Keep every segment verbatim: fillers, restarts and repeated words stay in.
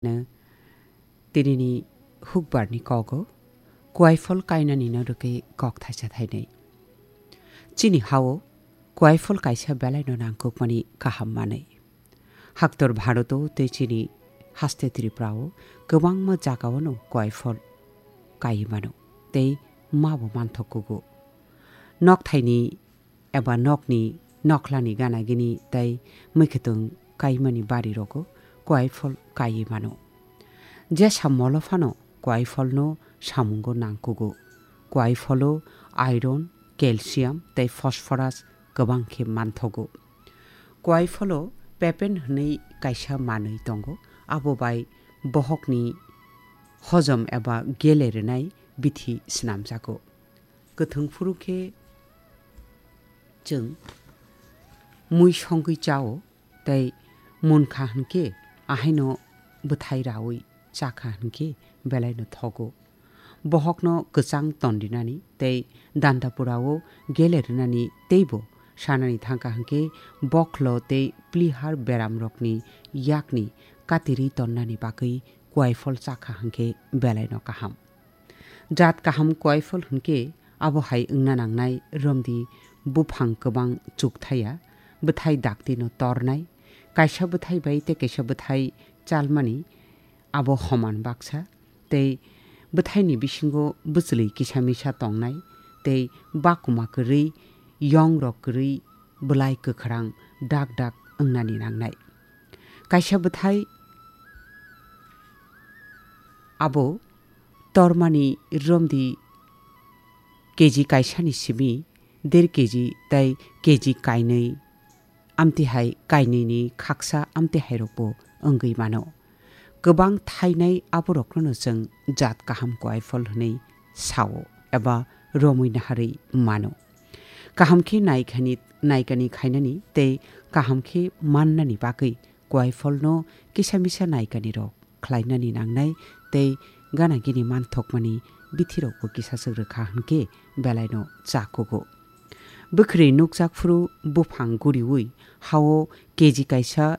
No, tinini hukbarni kogo, kuaifol kainani no rwgwi kok thaisa thainwi. Chini hao kuaifol kaisa belaino nangkukmani kaham manwi. Haktor Bharoto tei chini haste Tripurao kwbangma jagao no kuaifol kaiwi mano tei mabo manthok kugo. Nokthaini eba nokni nokhlani gana gini tei mwkhwtwng kaimani barirogo kuaifol kaiwi mano. Jesa molo phano kuaifolno samungo nangkugo. Kuaifolo iron, calcium tei phosphorus kwbang khe manthogo. Kuaifolo papain hwnwi kaisa manwi tongo, abo bai bohokni hojom eba gele rwnai bithi snamjago. Kwthwng phuru khe chwng mui songwi chao, tei munkha hwnkhe ahaino bwthai raui chakha hwnkhe belaino thogo. Bohokno kwchang tondinani tei dandapurao gele rwnani teibo sanani thangkha hwnkhe bokhlo tei plihar beramrokni yakni katirwi tonnani bagwi kuaifol chakha hwnkhe belaino kaham. Jat kaham kuaifol hwnkhe abo hai wngna nangnai romdi buphang kwbang chukthaya, bwthai daktino tornai, kaisa bwthai bai tei kaisa bwthai chalmani abo homan baksa, tei bwthaini bisingo bwchwlwi kisa misa tongnai, tei bakuma kwrwi, yongrok kwrwi, bwlai kwkhrang dak dak wngnani nangnai. Kaisa bwthai abo tormani romdi keji kaisani simi der keji tei keji kainwi, amtihai kainwini khaksa amtihairokbo wngwi mano. Kwbang thainai aborokno chwng jat kaham kuaifol hwnwi sao eba romwi naharwi mano. Kaham khe naikhani, naikani khainani tei kaham khe mannani bagwi kuaifolno kisa misa naikanirok khlainani nangnai tei gana gini manthokmani bithirokbo kisa swk rwkha hwnkhe belaino cha kugo. Bwkhwrwi nukjak phuru buphang guriui hao keji kaisa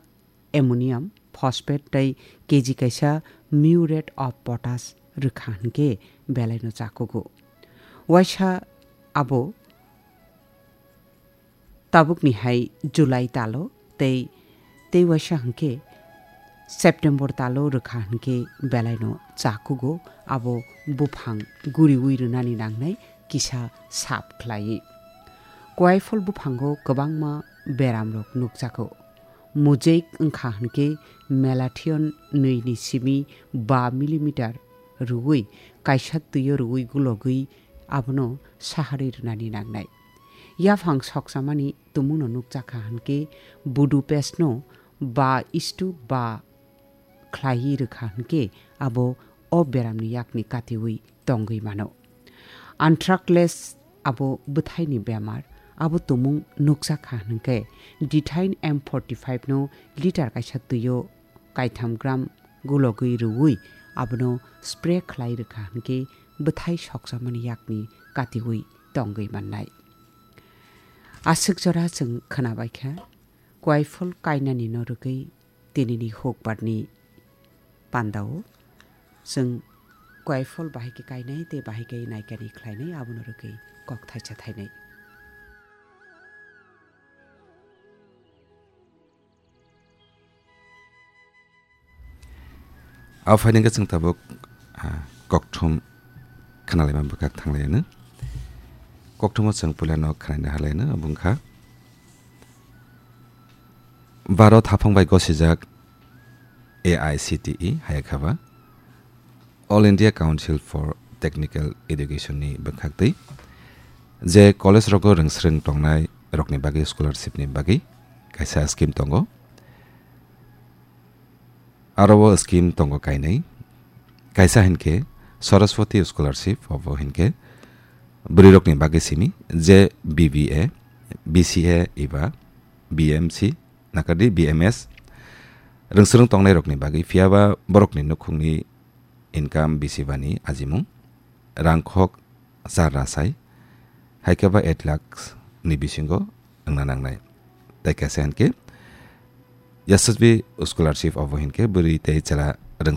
ammonium phosphate tei keji kaisa muriate of potash rwkha hwnkhe belaino cha kugo. Waisa abo tabukni hai July talo tei, tei waisa hwnkhe September talo rwkha hwnkhe belaino cha kugo, abo buphang guriui rwnani nangnai kisa sap khlaiwi. Kuaifol buphango kwbangma beramrok nukjago. Mosaic wngkha hwnkhe malathion nwi ni simi ba millimeter rwui kaisa twio rwui gulogwi abono saharwi rwnani nangnai. Yaphang sokchamani tumungno nukjakha hwnkhe Budapest no ba istu ba khlaiwi rwkha hwnkhe abo o beramni yakni katiui tongwi mano. Anthrax abo bwthaini bemar, abo tumung nukjakha hwnkhe dithain M forty five no liter kaisa twio kaitham gram gulogwi rwui abono spray khlai rwkha hwnkhe bwthai sokchamani yakni katiui tongwi mannai. Aswk jora chwng khwnabaikha, kuaifol kainani no rwgwi tinini hukbarni pandao chwng kuaifol bahai khe kainai tei bahai khe naikani khlainai, abono rwgwi kok thaisa thainai. Aphaini hwnkhe chwng tabuk, ah, kokthum khnalaima bwkhak thanglaino. Kokthumo chwng puilano khnaina halaino, obo wngkha Bharat haphang bai gosijak A I C T E hai khe ba All India Council for Technical Education ni bwkhak twi je college rogo rwngsrwng tongnai rokni bagwi scholarship ni bagwi kaisa scheme tongo. Aro o scheme tongo kainwi. Kaisa hinkhe Saraswati Scholarship, obo hinkhe bwrwirokni bagwi simi je B B A, B C A eba B M C, nakardi B M S, rwngsrwng tongnairokni bagwi, phiyaba borokni nukhungni income bisi bani ajimung, rangkhok char rasai, hai khe ba eight lakhs ni bisingo wngna nangnai. Tai kaisa hinkhe Yashasvi Scholarship, obo hinkhe bwrwi tei chwla